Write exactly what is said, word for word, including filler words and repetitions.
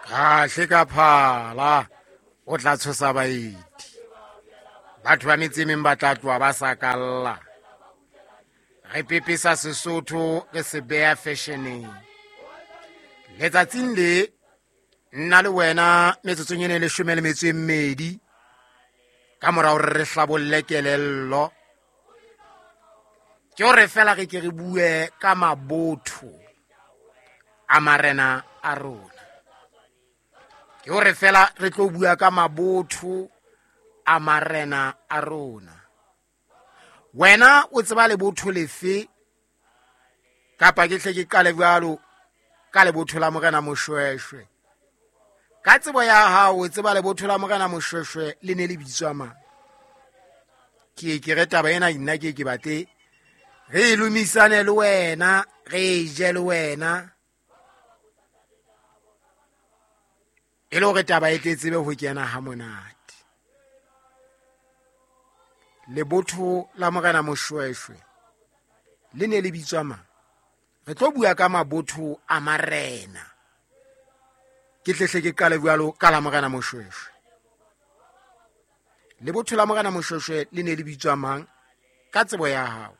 Kahle ka phala o tla tshosa baeti. Batho ba metse e meng ba tla tloha ba sa kalla. Re pepesa Sesotho re se beha fashioneng. Letsatsing le nna le wena metsotsong ena e leshome le metso e mmedi ka mora hore re hlabolle kelello, ke hore fela re ke re bue ka mabotho a marena a rona. Ke hore fela re tlo bua ka mabotho a marena a rona. Wena o tseba lebotho lefe? Kapa ke hle ke qale jwalo ka lebotho la Morena Moshweshwe. Ka tsebo ya hao o tseba lebotho la Morena Moshweshwe le ne le bitswa mang? Ke ke re taba ena nna ke ke batle re e lomisane le wena, re e je le wena, e le hore taba e tle tsebe ho kena ha monate. Lebotho la Morena Moshweshwe le ne le bitswa mang? Re tlo bua ka mabotho a marena. Ke tle hle ke qale jwalo ka la Morena Moshweshwe. Lebotho la Morena Moshweshwe le ne le bitswa mang ka tsebo ya hao?